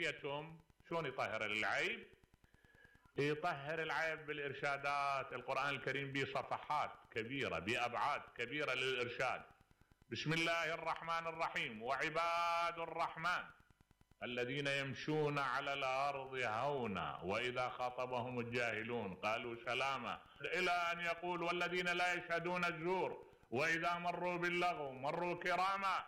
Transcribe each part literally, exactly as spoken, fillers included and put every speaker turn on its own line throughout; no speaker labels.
كيف يتم؟ شلون يطهر العيب؟ يطهر العيب بالإرشادات. القرآن الكريم به صفحات كبيرة بأبعاد كبيرة للإرشاد. بسم الله الرحمن الرحيم: وعباد الرحمن الذين يمشون على الأرض هونا وإذا خاطبهم الجاهلون قالوا سلاما، إلى أن يقول: والذين لا يشهدون الزور وإذا مروا باللغو مروا كراما.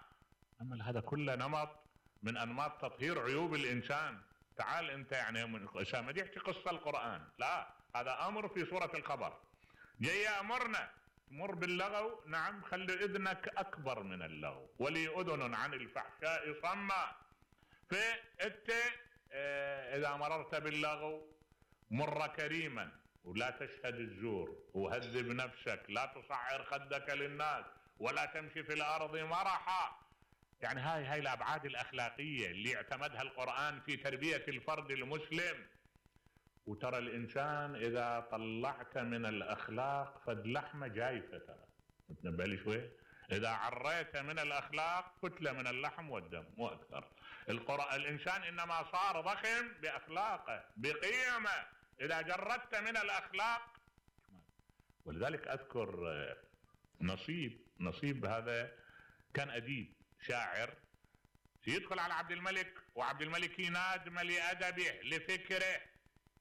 أما هذا كله نمط من أنماط تطهير عيوب الإنسان. تعال أنت يعني من أسامة يحكي قصة القرآن، لا، هذا أمر في سورة الخبر. جاي أمرنا مر باللغو، نعم، خلي إذنك أكبر من اللغو، ولي أذن عن الفحشاء صما. فأنت اه إذا مررت باللغو مر كريما، ولا تشهد الزور، وهذب نفسك، لا تصعر خدك للناس، ولا تمشي في الأرض مرحا. يعني هاي هاي الأبعاد الأخلاقية اللي اعتمدها القرآن في تربية الفرد المسلم. وترى الإنسان إذا طلعت من الأخلاق فد لحمة جايفة، ترى تنبه لي شوي، إذا عريت من الأخلاق كتلة من اللحم والدم مو أكثر. القرآن الإنسان إنما صار ضخم بأخلاقه بقيمه. إذا جردت من الأخلاق، ولذلك أذكر نصيب نصيب هذا كان أديب شاعر، يدخل على عبد الملك، وعبد الملك ينادم لأدبه لفكره،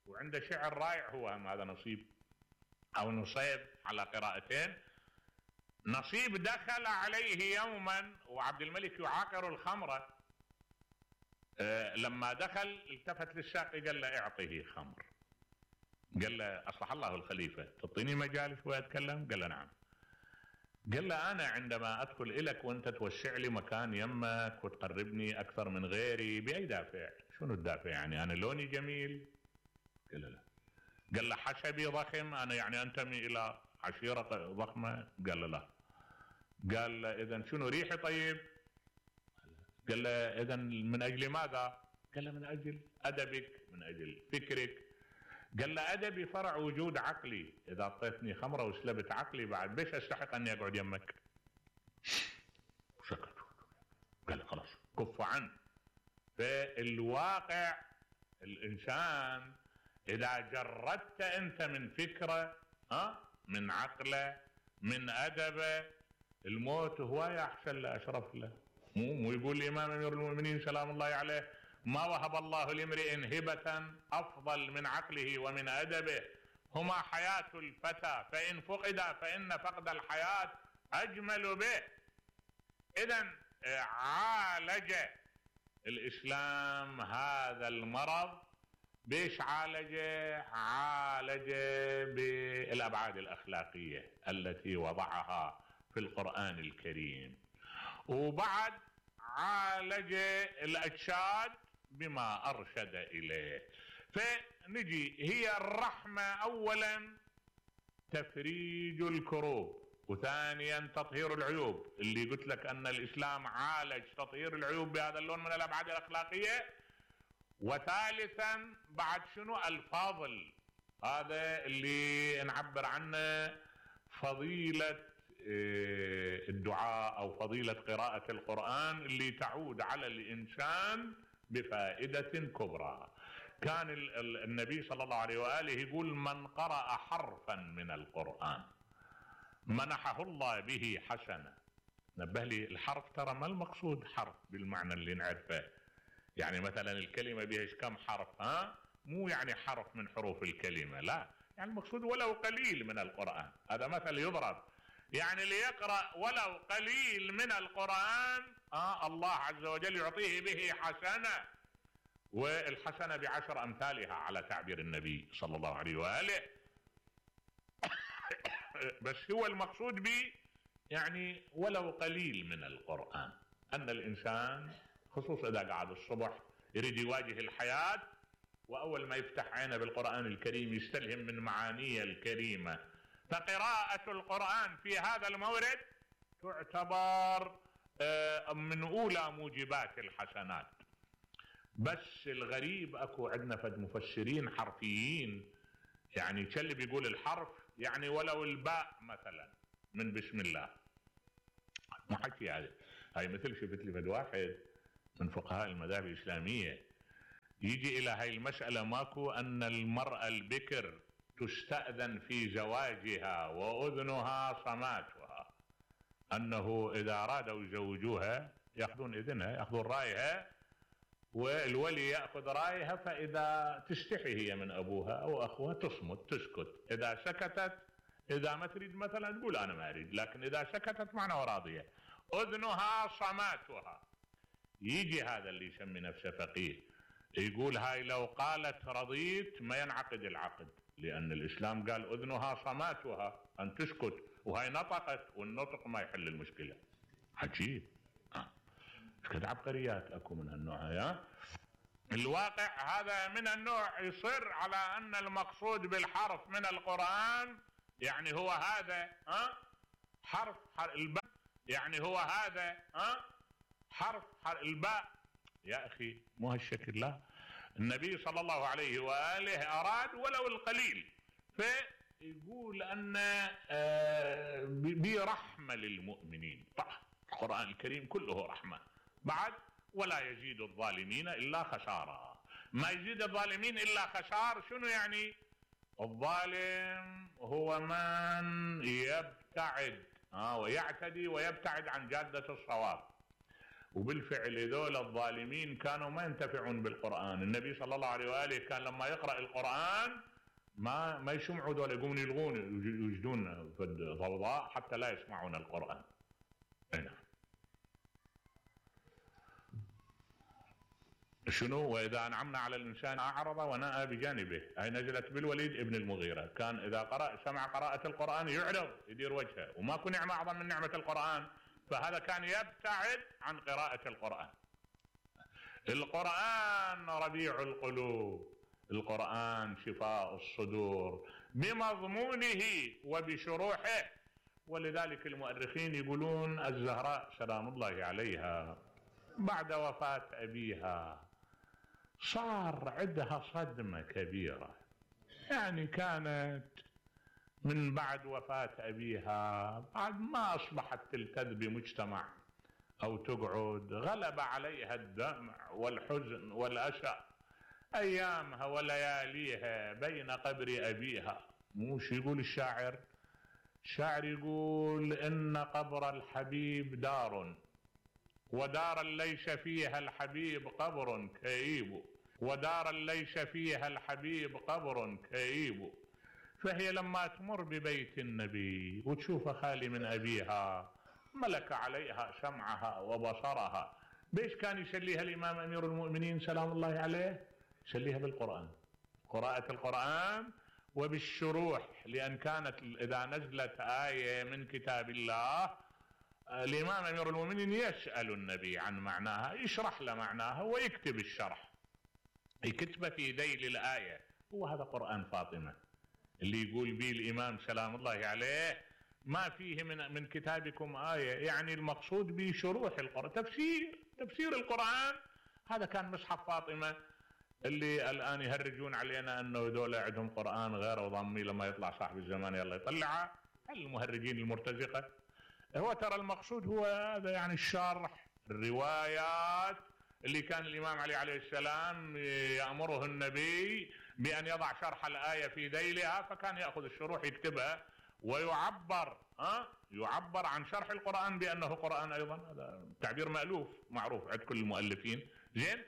وعنده شعر رائع. هو هذا نصيب أو نصيب على قراءتين. نصيب دخل عليه يوما وعبد الملك يعاقر الخمرة. أه لما دخل التفت للساقي قال له: اعطيه خمر. قال له: أصلح الله الخليفة، تعطيني مجال شوية أتكلم؟ قال له: نعم. قال له: أنا عندما أدخل إليك وأنت توسع لي مكان يمك وتقربني أكثر من غيري بأي دافع؟ شنو الدافع يعني؟ أنا لوني جميل؟ قال له: لا. قال له: حسبي ضخم، أنا يعني أنتمي إلى عشيرة ضخمة؟ قال له: لا. قال له: إذن شنو ريحي طيب؟ قال له: إذن من أجل ماذا؟ قال له: من أجل أدبك، من أجل فكرك. قال له: أدبي فرع وجود عقلي، إذا أعطيتني خمرة وسلبت عقلي بعد بيش أستحق أني أقعد يمك؟ سكت. قال له: خلاص كف عنه. فالواقع الإنسان إذا جردت أنت من فكرة، ها، من عقله، من أدبه، الموت هو أحسن له أشرف له. مو مو يقول الإمام أمير المؤمنين سلام الله عليه: ما وهب الله لامرئ هبة أفضل من عقله ومن أدبه، هما حياة الفتى فإن فقدا فإن فقد الحياة أجمل به. إذن عالج الإسلام هذا المرض. بيش عالجه؟ عالجه بالأبعاد الأخلاقية التي وضعها في القرآن الكريم، وبعد عالج الأجساد بما أرشد إليه. فنجي هي الرحمة أولا تفريج الكروب، وثانيا تطهير العيوب، اللي قلت لك أن الإسلام عالج تطهير العيوب بهذا اللون من الأبعاد الأخلاقية. وثالثا بعد شنو؟ الفاضل، هذا اللي نعبر عنه فضيلة الدعاء أو فضيلة قراءة القرآن، اللي تعود على الإنسان بفائدة كبرى. كان النبي صلى الله عليه وآله يقول: من قرأ حرفا من القرآن منحه الله به حسنة. نبه لي، الحرف ترى ما المقصود حرف بالمعنى اللي نعرفه. يعني مثلا الكلمة بيهش كم حرف؟ ها، مو يعني حرف من حروف الكلمة، لا، يعني المقصود ولو قليل من القرآن. هذا مثل يضرب، يعني ليقرأ ولو قليل من القرآن آه الله عز وجل يعطيه به حسنة، والحسنة بعشر أمثالها على تعبير النبي صلى الله عليه وآله. بس هو المقصود به يعني ولو قليل من القرآن، أن الإنسان خصوصا إذا قعد الصبح يريد يواجه الحياة، وأول ما يفتح عينه بالقرآن الكريم يستلهم من معانيه الكريمة. فقراءة القرآن في هذا المورد تعتبر من أولى موجبات الحسنات. بس الغريب أكو عندنا فد مفسرين حرفيين، يعني كل بيقول الحرف يعني ولو الباء مثلا من بسم الله، ما حكي هذا. هاي مثل شفت لي فد واحد من فقهاء المذاهب الإسلامية يجي إلى هاي المسألة ماكو أن المرأة البكر تستأذن في زواجها وأذنها صماتها، أنه إذا أرادوا يزوجوها يأخذون إذنها، يأخذون رأيها، والولي يأخذ رأيها، فإذا تستحي هي من أبوها أو أخوها تصمت تسكت، إذا سكتت إذا ما تريد مثلا تقول أنا ما أريد، لكن إذا سكتت معناه راضية. أذنها صماتها. يجي هذا اللي يسمي نفسه فقيه يقول هاي لو قالت رضيت ما ينعقد العقد، لأن الإسلام قال أذنها صماتها، أن تسكت، وهاي نطقت، والنطق ما يحل المشكلة. عجيب. كذا عبقريات اكو من هالنوع. ها الواقع هذا من النوع يصر على ان المقصود بالحرف من القرآن يعني هو هذا، ها حرف الباء، يعني هو هذا، ها حرف الباء. يا اخي مو هالشكل، لا. النبي صلى الله عليه واله اراد ولو القليل، فيقول ان برحمه للمؤمنين. القرآن الكريم كله رحمه. بعد ولا يزيد الظالمين إلا خسارا. ما يزيد الظالمين إلا خسار. شنو يعني؟ الظالم هو من يبتعد آه ويعتدي ويبتعد عن جادة الصواب، وبالفعل هذول الظالمين كانوا ما ينتفعون بالقرآن. النبي صلى الله عليه وآله كان لما يقرأ القرآن ما ما يسمعوا ذول، يقومون يلغون يوجدون في الضوضاء حتى لا يسمعون القرآن. هنا شنو؟ وإذا أنعمنا على الإنسان أعرض ونأى بجانبه. هاي نزلت بالوليد ابن المغيرة، كان إذا قرأ سمع قراءة القرآن يعرض يدير وجهه، وماكو نعمة أعظم من نعمة القرآن، فهذا كان يبتعد عن قراءة القرآن. القرآن ربيع القلوب، القرآن شفاء الصدور بمضمونه وبشروحه. ولذلك المؤرخين يقولون الزهراء سلام الله عليها بعد وفاة أبيها صار عندها صدمة كبيرة، يعني كانت من بعد وفاة أبيها بعد ما أصبحت تلتذ بمجتمع أو تقعد، غلب عليها الدمع والحزن والأسى أيامها ولياليها بين قبر أبيها. موش يقول الشاعر؟ الشاعر يقول إن قبر الحبيب دار، ودارا ليس فيها الحبيب قبر كئيب، ودارا ليس فيها الحبيب قبر كئيب. فهي لما تمر ببيت النبي وتشوف خالي من أبيها ملك عليها سمعها وبصرها. بيش كان يسليها الإمام أمير المؤمنين سلام الله عليه؟ يسليها بالقرآن، قراءة القرآن وبالشروح، لأن كانت إذا نزلت آية من كتاب الله الإمام أمير المؤمنين يسأل النبي عن معناها، يشرح له معناها ويكتب الشرح، يكتبه في ذيل الآية. هو هذا قرآن فاطمة اللي يقول به الإمام سلام الله عليه ما فيه من من كتابكم آية، يعني المقصود به شروح القرآن، تفسير تفسير القرآن. هذا كان مصحف فاطمة اللي الآن يهرجون علينا أنه دول عندهم قرآن غير وضمي، لما يطلع صاحب الزمان يلا يطلعه، المهرجين المرتزقة. هو ترى المقصود هو هذا، يعني الشرح، الروايات اللي كان الإمام علي عليه السلام يأمره النبي بأن يضع شرح الآية في ذيلها، فكان يأخذ الشروح يكتبها ويعبر ها يعبر عن شرح القرآن بأنه قرآن أيضا. هذا تعبير مألوف معروف عند كل المؤلفين. زين،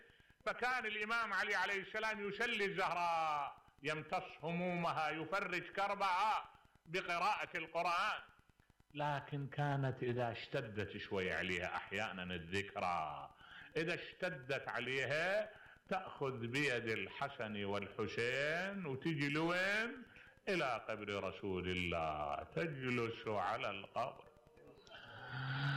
فكان الإمام علي عليه السلام يسلي الزهراء، يمتص همومها، يفرج كربها بقراءة القرآن. لكن كانت إذا اشتدت شوي عليها أحيانا الذكرى، إذا اشتدت عليها تأخذ بيد الحسن والحسين وتجي لوين؟ إلى قبر رسول الله، تجلس على القبر.